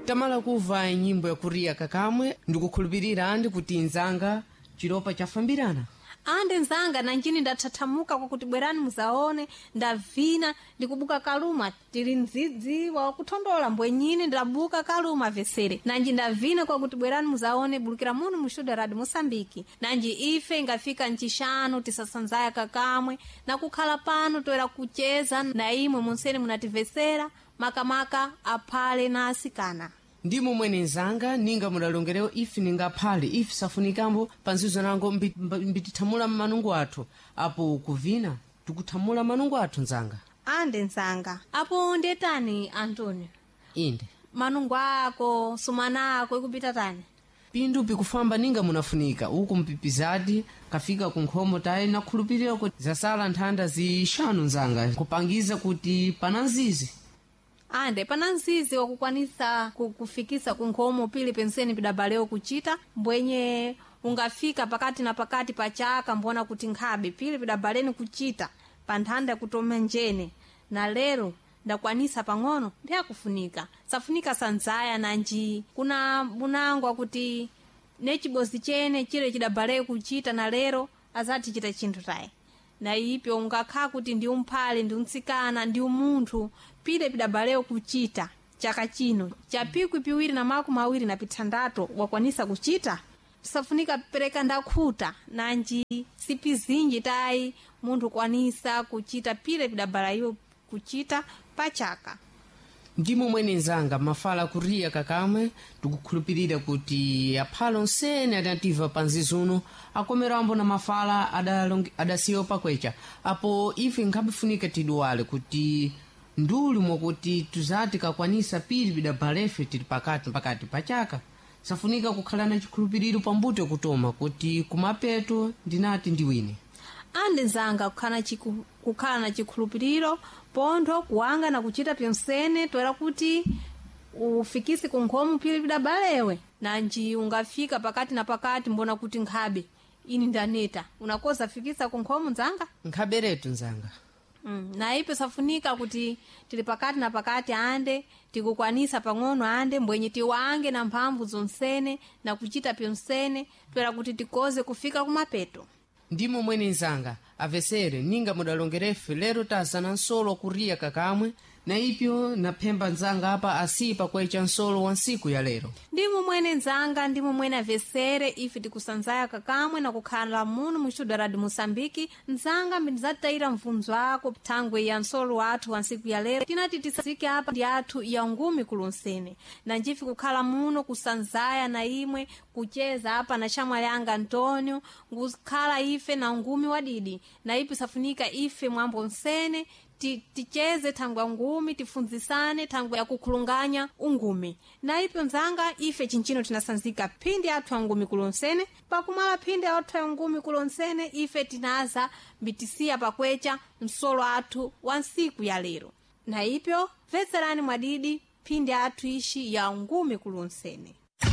Tamala kuva nyimbo yakuriya kakamwe, ndikukhulupirira andi kuti nzanga chilopa chafambirana. Ande nzanga, nanjini ndathathamuka kwakuti bwerani muzaone, ndavina ndikubuka kaluma tili mdzidzi wakuthondola mbwenyini, ndabuka kaluma vesere nanji ndavina kwakuti bwerani muzaone, bulukira muno mu studio Radio Mosambiki. Nanji ife ingafika ncixanu tisasanzaya kakamwe nakukhala pano toera kucheza na imwe munsene munativesera, makamaka aphale na asikana. Ndimo mwene nzanga, ninga mudalongerewo ife ningaphale ife safunikambo panzizo nango mbitithamula manungo athu apo kuvina tikuthamula manungo athu nzanga. Ande nzanga, apo ndetani Antonio? Inde. Manungo ako sumana ako ikupita tani? Pindu pikufamba ninga munafunika uku mpipizati kafika kunkhomo tayi nakhulupirira kuti zasala nthanda zixanu nzanga kupangiza kuti pana nzizi. Ande pana nzizi wakukwanisa kufikisa kunkhomo pili penseni pidabalewo kuchita mbwenye ungafika pakati na pakati pa chaka mbona kuti nkhabe pili pidabaleni kuchita pa nthanda kutoma njene na lero ndakwanisa pang'ono ndiyakufunika safunika sanzaya nanji kuna bunangwa kuti necibozi chene chile chidabaleyo kuchita na lero azati chita chinthu tayi na ipyo ungakhala kuti ndi umphale ndi umtsikana ndi umunthu pile pidabaleyo kuchita chaka chino cha 2026 wakwanisa kuchita safunika pereka ndakhuta nanji sipi zinji tayi munthu kwanisa kuchita pile pidabalayo kuchita pachaka. Ndimo mwene nzanga, mafala kuriya kakamwe, tikukhulupirira kuti aphalo onsene adativa panzizi uno akomerambo na mafala adasiyo pakwecha apo ife nkhapifunika tiduwale kuti nduli mwakuti tuzati kakwanisa pili pidabalefe tili pakati pakati pachaka safunika kukhala na chikhulupiriro pambuto kutoma kuti kumapeto ndinati ndiwine. Ande nzanga, kukhala na chikhulupiriro pontho kuwanga na kuchita pyonsene toera kuti ufikise kunkhomo pili pidabalewe nanji ungafika pakati na pakati mbona kuti nkhabe ini ndaneta unakoza fikisa kunkhomo nzanga. Nkhaberetu nzanga. Na ipo safunika kuti tili pakati na pakati ande tikukwanisa pang'ono ande mbwenye tiwange na mphamvu zonsene na kuchita pyonsene toera kuti tikoze kufika kumapeto. Ndimo mwene nzanga, avesere ninga mudalongerefe lero tazana nsolo kuriya kakamwe na ipyo naphemba nzanga apa asiyi pakwecha nsolo wa ntsiku ya lero. Ndimo mwene nzanga, ndimo mwene avesere ife tikusanzaya kakamwe na kukhala muno mu studio Radio Mosambiki. Nzanga, mbindizatayira mvunzo ako thangwe ya nsolo wathu wa ntsiku ya lero tinati tisazike apa ndi athu ya ngumi kulonsene na njife kukhala muno kusanzaya na imwe kucheza apa na shamwali anga Antonio ngukhala ife na ngumi wadidi na ipi safunika ife mwambo nsene ticheze thangwe ya ngumi tifunzisane thangwe ya kukhulunganya ungumi na ipyo nzanga ife chinchino tinasanzika phindi athu ya ngumi kulonsene pakumala phindi athu ya ngumi kulonsene ife tinaza mbitisiya pakwecha msolo athu wa ntsiku ya lero na ipyo mvetserani mwadidi phindi athu ixi ya ngumi kulonsene.